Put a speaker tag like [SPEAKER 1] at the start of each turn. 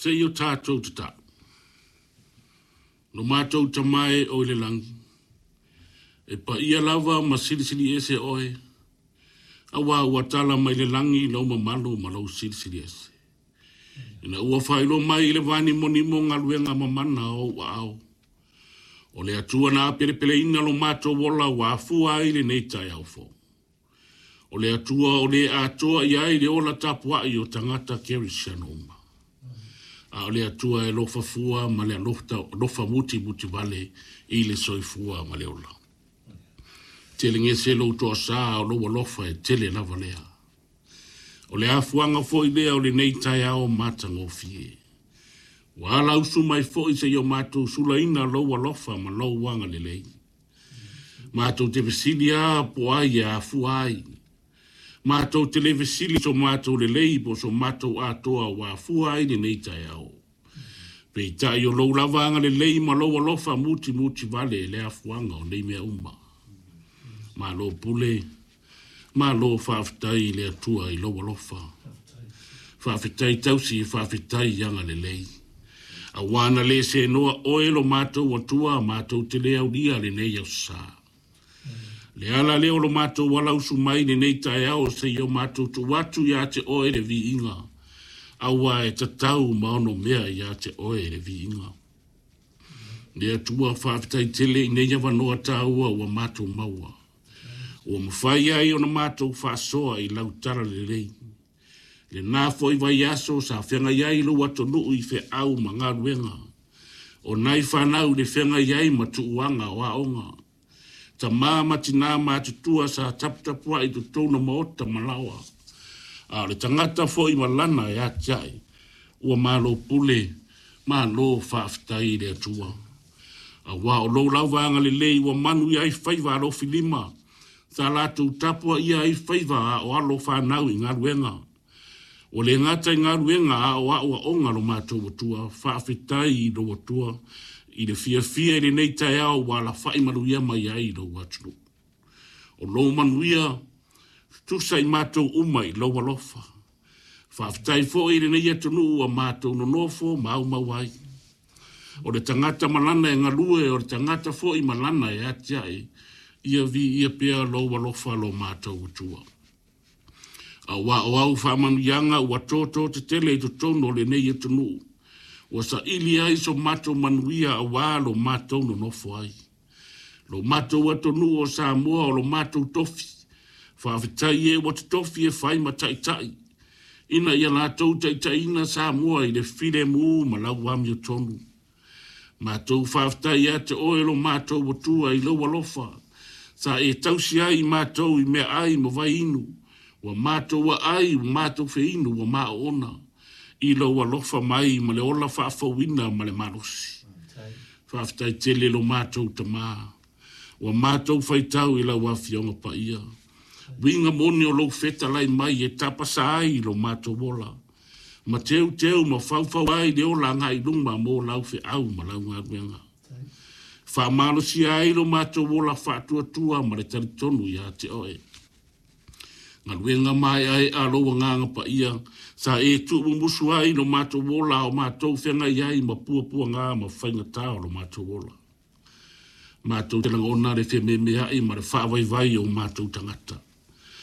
[SPEAKER 1] Se i o tatou tatalo. Lo matou Tama e o i le lagi, e paia lava ma silisili ese oe, aua ua tala mai le lagi lou mamalu ma lou silisili ese. Ina ua faailoa mai i le vanimonimo galuega mamana o ou aao, o le Atua na apelepeleina lo matou ola ua afua ai lenei taeao fou. O le Atua o le atoa i ai le ola tapuai o tagata kerisiano uma. A o le Atua e alofa fua ma le alofa mutimuti vale i le soifua ma le ola. Telegese lou toasā o lou alofa e tele lava lea. O le afuaga foi lea o lenei taeao matagofie. Ua alausu mai foi seia o matou sulaina lou alofa ma lou agalelei. Matou te fesili lava po o ai e afua ai. Matou te le fesili so matou lelei po o so matou atoa ua afua ai lenei taeao. Peitai o lou lava agalelei ma lou alofa mutimuti vale le afuaga o nei mea uma. Malo pule, malo faafetai i le Atua i lou alofa. Faafetai tausi, faafetai agalelei. Aua na le senoa oe lo matou Atua, matou te le aulia lenei aso sa. Le ala lea o lo matou alausu mai lenei taeao seia o matou tuu atu ia te oe le viiga. Aua e tatau ma ono mea ia te oe le viiga. Le Atua faafetai tele i nei avanoa taua ua matou maua. Ua mafai ai ona matou faasoa i lau talalelei. Lena foi vaiaso sa feagai ai lou atunuu i feau ma galuega. O nai fanau i le feagai ai ma tuuaga o aoga. Tama ma tinā matutua sa taputapuai i totonu o maota ma laoa. A o le tagata foi ma lana e atiae, ua malo pule, malo faafetai i le Atua. Aua o lou lava agalelei ua manuia ai faiva alofilima, sa latou tapuaia ai faiva a o alo fanau i galuega. Ua le gata i galuega a o aoaoga lo matou Atua, faafetai i lou Atua i le fiafia i lenei taeao ua alafai manuia mai ai lou atunuu. O lou manuia tutusa i matou uma i lou alofa. Faafetai foi i lenei atunuu ua matou nonofo ma aumau ai. O le tagata ma lana e galue, o le tagata foi ma lana e atiae, ia viia pea lou alofa lo matou Atua. Aua o au faamanuiaga ua toto tetele i totonu o lenei atunuu, ua saili ai so matou manuia aua lo matou nonofo ai. Lo matou atunuu o Samoa o lo matou tofi, faafetai e ua totofi e fai ma taitai, ina ia latou taitaiina Samoa i le filemu ma lau amiotonu. Matou faafetai ia te oe lo matou Atua i lou alofa, sa e tausi ai i matou i meaai ma vaiinu, ua matou aai ua matou feinu ua maoona, i lou alofa mai ma le ola faafouina ma le malosi. Faafetai tele lo matou Tama, ua matou faitau i lau Afioga Paia. Uiga moni o lou fetalai mai e tapasa ai lo matou ola, ma teuteu ma faufau ai le ola agai i luma mo lau feau ma lau galuega. Faamalosia ai lo matou ola faatuatua ma le talitonu ia te oe. Galuega maeaea lou Agaga Paia, sa e tuumumusu ai lo matou ola o matou feagai ai ma puapuaga ma faigata o lo matou ola. Matou te lagona le fememeai ma le faavaivai o matou tagata.